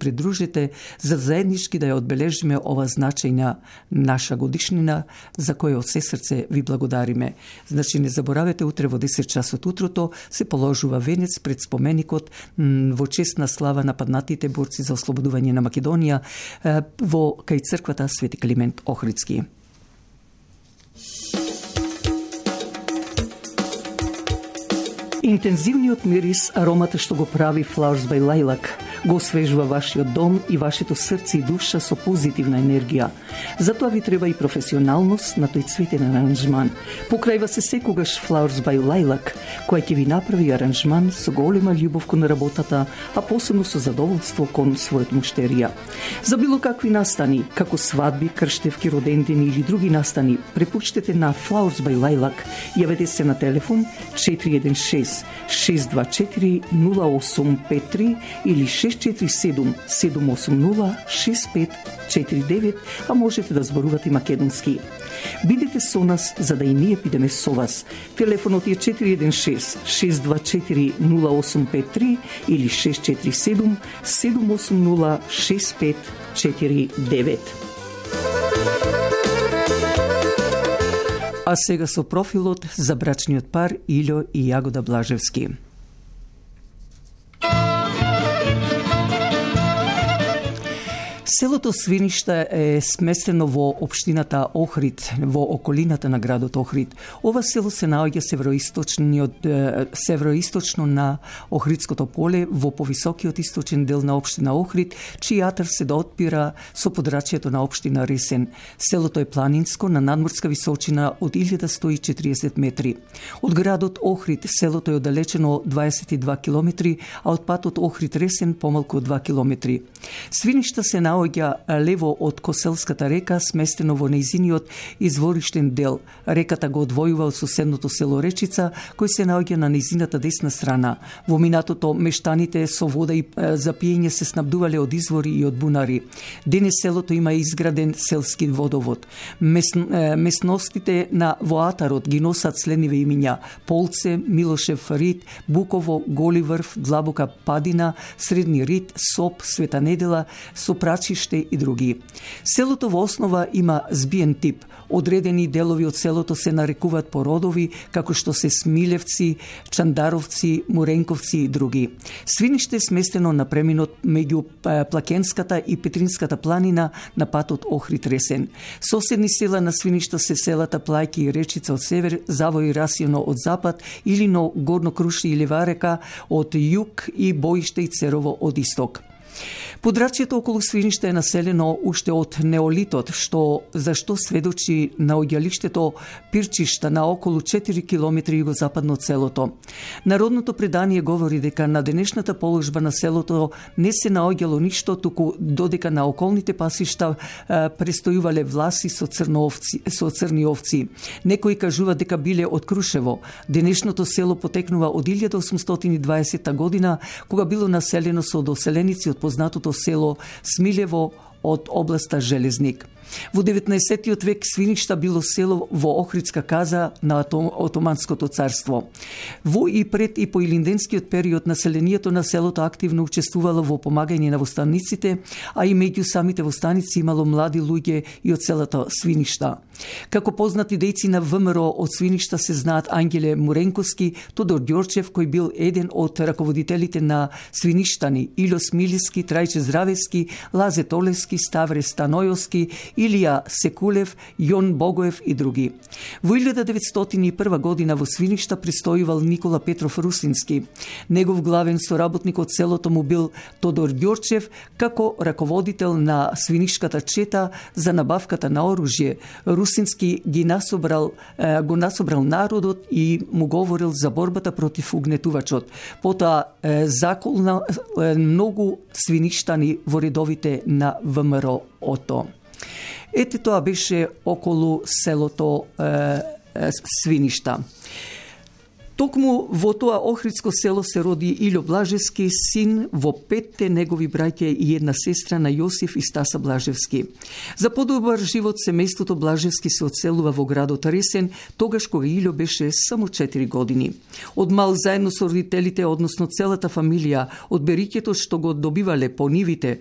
придружите за заеднички да ја одбележиме ова значајна наша годишнина за која од се срце ви благодариме. Значи не заборавете, утре во 10 часот утрото се положува венец пред споменикот во чест на слава на паднатите борци за ослободување на Македонија во кај црквата Свети Климент Охридски. Интензивниот мирис, аромата што го прави Flowers by Lilac, го освежува вашиот дом и вашето срце и душа со позитивна енергија. Затоа ви треба и професионалност на тој цветен аранжман. Покрајва се секогаш Flowers by Lilac, која ќе ви направи аранжман со голема љубов кон работата, а посебно со задоволство кон својот муштерија. За било какви настани, како свадби, крштевки, родендени или други настани, препуштете на Flowers by Lilac. Јавете се на телефон 416-624-0853 или 647-780-6549, а можете да зборувате македонски. Бидете со нас за да и ние бидеме со вас. Телефонот е 416-624-0853 или 647-780-6549. А сега со профилот за брачниот пар Илјо и Јагода Блажевски. Селото Свиништа е сместено во општината Охрид, во околината на градот Охрид. Ова село се наоѓа североисточно на Охридското поле, во повисокиот источен дел на општина Охрид, чиј јатар се доотпира со подрачјето на општина Ресен. Селото е планинско, на надморска височина од 1140 метри. Од градот Охрид селото е оддалечено 22 километри, а од патот Охрид-Ресен помалку од 2 километри. Свиништа се наоѓа лево од Коселската река, сместено во нејзиниот извориштен дел. Реката го одвојува од соседното село Речица, кој се наоѓа на нејзината десна страна. Во минатото мештаните со вода и за пиење се снабдувале од извори и од бунари. Денес селото има изграден селски водовод. Местностите на воатарот ги носат следниве имиња: Полце, Милошев Рид, Буково, Голи врв, Длабока Падина, Средни Рид, Соп, Света Недела, Сопрачиште и други. Селото во основа има збиен тип. Одредени делови од селото се нарекуваат по родови, како што се Смилевци, Чандаровци, Муренковци и други. Свиниште е сместено на преминот меѓу Плакенската и Петринската планина на патот Охрид-Ресен. Соседни села на Свиништа се селата Плајки и Речица од север, Завој и Расијано од запад, Илино, Горно Круши и Леварека од југ и Боиште и Церово од исток. Подрачјето околу Свиниште е населено уште од неолитот, зашто сведочи наоѓалиштето Пирчишта на околу 4 километри југозападно од селото. Народното предание говори дека на денешната положба на селото не се наоѓало ништо, туку додека на околните пасишта престојувале власи со црни овци. Некои кажуваат дека биле од Крушево. Денешното село потекнува од 1820 година, кога било населено со доселеници од познатото село Смилево од областа Железник. Во 19. век Свиништа било село во Охридска каза на Отоманското царство. Во и пред и по илинденскиот период населението на селото активно учествувало во помагање на востаниците, а и меѓу самите востаници имало млади луѓе и од селото Свиништа. Како познати дејци на ВМРО од Свиништа се знаат Ангеле Муренковски, Тодор Ѓорчев, кој бил еден од раководителите на Свиништани, Илјо Смилиски, Трајче Здравевски, Лазе Толевски, Ставре Станојовски, Илија Секулев, Јон Богоев и други. Во 1901 година во Свиништа престојувал Никола Петров Русински. Негов главен соработник од селото му бил Тодор Ѓорчев, како раководител на свинишката чета за набавката на оружје. Русински го насобрал народот и му говорил за борбата против угнетувачот. Потоа заколна многу свиништани во редовите на ВМРО-ото. Ете тоа беше околу селото Свиништа. Токму во тоа Охридско село се роди Илјо Блажевски, син во 5 негови браќа и една сестра на Јосиф и Стаса Блажевски. За подобар живот семејството Блажевски се одселува во градот Ресен, тогаш кога Илјо беше само 4 години. Од мал заедно со родителите, односно целата фамилија, од бериќето што го добивале по нивите,